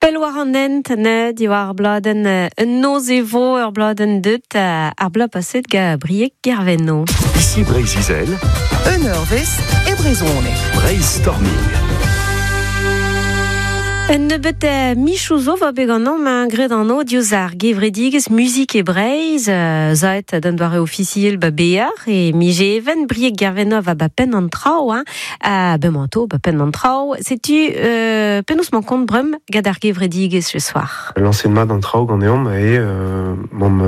Pell war an hent ne diwar ar bladenn Un noz e vo ur bladenn deut ar bloaz paset gant Brieg Gervenno. Ici Breizh-Izel. Un eurvezh e brezhoneg. Breizh-Storming. Un nebeut michoù zo va bet ganeomp hein, graet anv diouzh ar gevredigezh Muzik e Breizh zaet d'an doare ofisiel ba Bear e Mijeven Brieg Gervenno va ba penn an traoù hein. Bemañ to ba penn an traoù. Setu penaos 'mañ kont brem gant ar gevredigezh ce soir. Lañset mat an traoù ganeomp eo 'mamp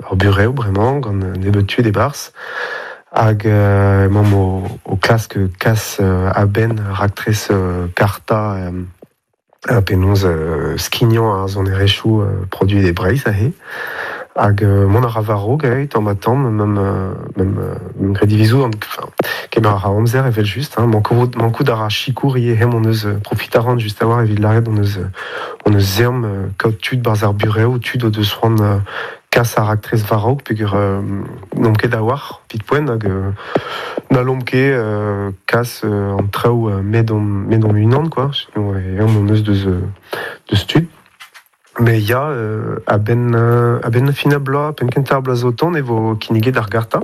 ur burev bremañ gant nebeut tud e-barzh hag emaomp o klask kas a-benn raktres karta penaos skignañ ar sonerezhioù produet e Breizh aze. Hag mont a ra war-raok tamm-ha-tamm, mem graet divizoù, enfin, kemer a ra amzer evel-just. Hein, mankout a ra sikour ivez, hemañ hon eus profit a ran just a-walc'h evit lâret hon eus ezhomm kaout tud 'barzh ar burev, tud o deus c'hoant kas ar raktres war-raok peogwir n'omp ket a-walc'h evit poent hag n'hallomp ket kas an traoù met hon-unan quoi. Ezhomm hon eus deus tud. Mais ya, a-benn fin ar bloaz, penn kentañ ar bloaz zo tont e vo kinniget ar garta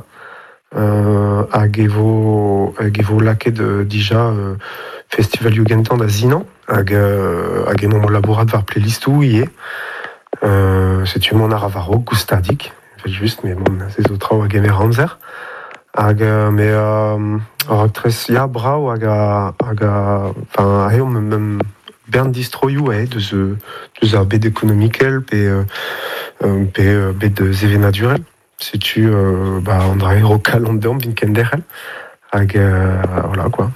hag e vo hag e vo lakaet dija festivalioù gentañ da sinañ hag hag emaomp o labourat war playlistoù ivez. Setu mont a ra war-raok goustadik, evel-just, met bon, se zo traoù a gemer amzer. Hag mais ar raktres ya brav hag a hag a enfin aze omp mem bern distroioù aze deus deus ar bed ekonomikel pe pe bed sevenadurel. Setu bah an dra eo kalon deomp evit kenderc'hel hag voilà quoi.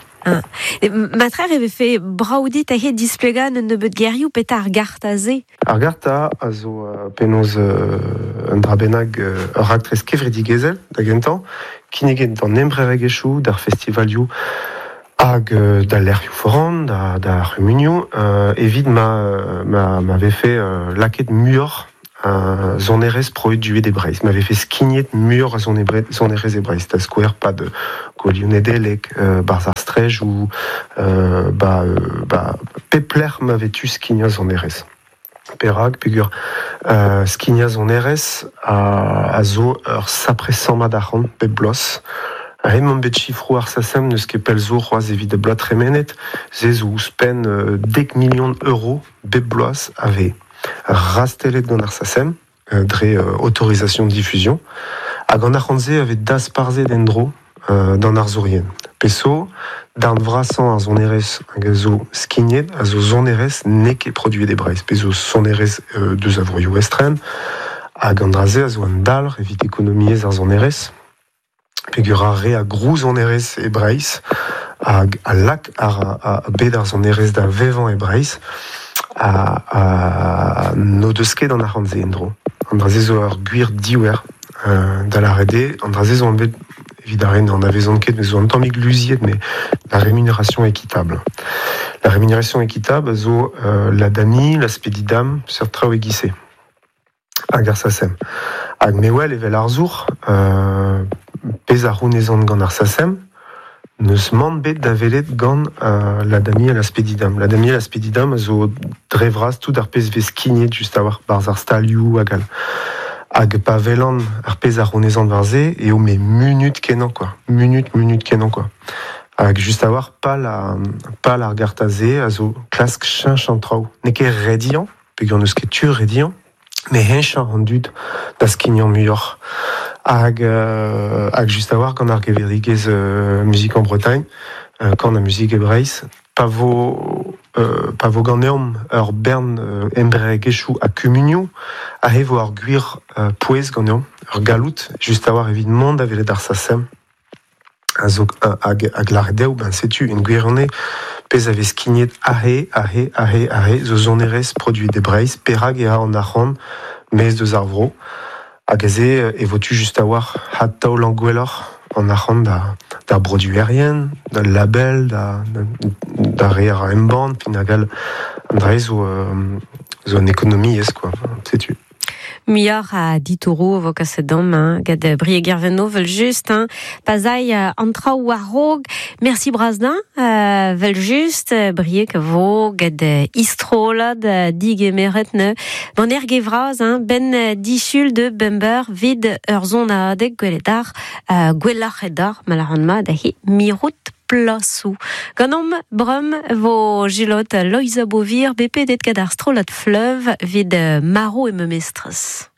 Matrer e vefe brav dit aze displegañ un nebeud gerioù petra ar garta-se? Ar garta a zo penaos un dra bennak ur raktres kevredigezhel da gentañ, kinniget d'an embreregezhioù, d'ar festivalioù hag d'al lec'hioù foran, d'ar c'humunioù, evit ma, ma, ma vefe lakaet muioc'h a sonerezh produet e Breizh, ma vefe skignet muioc'h a sonerezh e Breizh, da skouer pad Gouelioù Nedeleg, 'barzh ar strejoù, ba, ba pep lec'h ma vez tu skignañ sonerezh. Perak? Peogwir skignañ sonerezh a zo ur sapre sammad arc'hant bep bloaz. Hemañ bet sifroù ar SACEM n'eus ket pell zo c'hoazh evit ar bloaz tremenet, se zo ouzhpenn 10 million euro bep bloaz a vez rastellet gant ar SACEM dre autorisation diffusion hag an arc'hant-se a vez dasparzhet en-dro d'an arzourien. Peso, darn vrasañ ar sonerezh hag a zo skignet a zo sonerezh n'eo ket produet e Breizh, pe zo sonerezh deus a vroioù estren, hag an dra-se a zo un dalc'h evit ekonomiezh ar sonerezh, peogwir ar re a grou sonerezh e Breizh hag a lak ar bed ar sonerezh da vevañ e Breizh a n'o deus ket an arc'hant-se en-dro. An dra-se zo ur gwir diouer da lâret eo, an dra-se zo anvet evit ar re n'anavezont ket, mais zo un tammig luziet, mais la rémunération équitable. La rémunération équitable a zo la DAMI, la Spedidam, seurt traoù e-giz-se. Hag ar SACEM. Hag me wel evel arzour, pezh a c'hounezan gant ar SACEM, n'eus mann bet da welet gant la DAMI ha la Spedidam. La DAMI ha la Spedidam a zo dre vras tout ar pezh vez skignet just a-walc'h 'barzh ar stalioù hag all. Hag pa welan ar pezh a c'hounezan war-se eo me munut kenañ quoi, munut, munut kenañ quoi. Hag just a-walc'h pal pal ar garta-se a zo klask cheñch an traoù. N'eo ket rediañ, peogwir n'eus ket tu rediañ, met heñchañ an dud da skignañ muioc'h. Hag hag just a-walc'h gant ar gevredigezh Musique en Bretagne, kan ha muzik e Breizh, pa vo pa vo ganeomp ur bern embreregezhioù ha kumunioù, aze vo ar gwir pouez ganeomp, ur galloud just a-walc'h evit mont da welet ar SACEM. A zo hag hag lâret dezho, ben setu en gwirionez pezh a vez skignet aze, aze, aze, aze zo sonerezh produet e Breizh, perak e ra an arc'hant maez deus ar vro. Hag aze e vo tu just a-walc'h adtaolañ gwelloc'h an arc'hant da d'ar broduerien, d'al label, da d'ar re a ra embann, fin hag all. An dra-se zo zo un ekonomiezh quoi, setu. Muioc'h a ditouro vo kaset dam, hein, gant Brieg Gervenno, vel just, hein, pa'z an traoù war-raok. Merci bras din, vel just, Brieg vo gant istrolad digemeret ne. Bon erge vraz, hein, ben disul de bember vid ur zonadeg gwelet ar, gwelloc'h edar, malaran ma da hi mirout plasou. Ganom brum vo gilot Loiza Bovir bepedet gant ar strollad fleuve vid maro e me mestrez.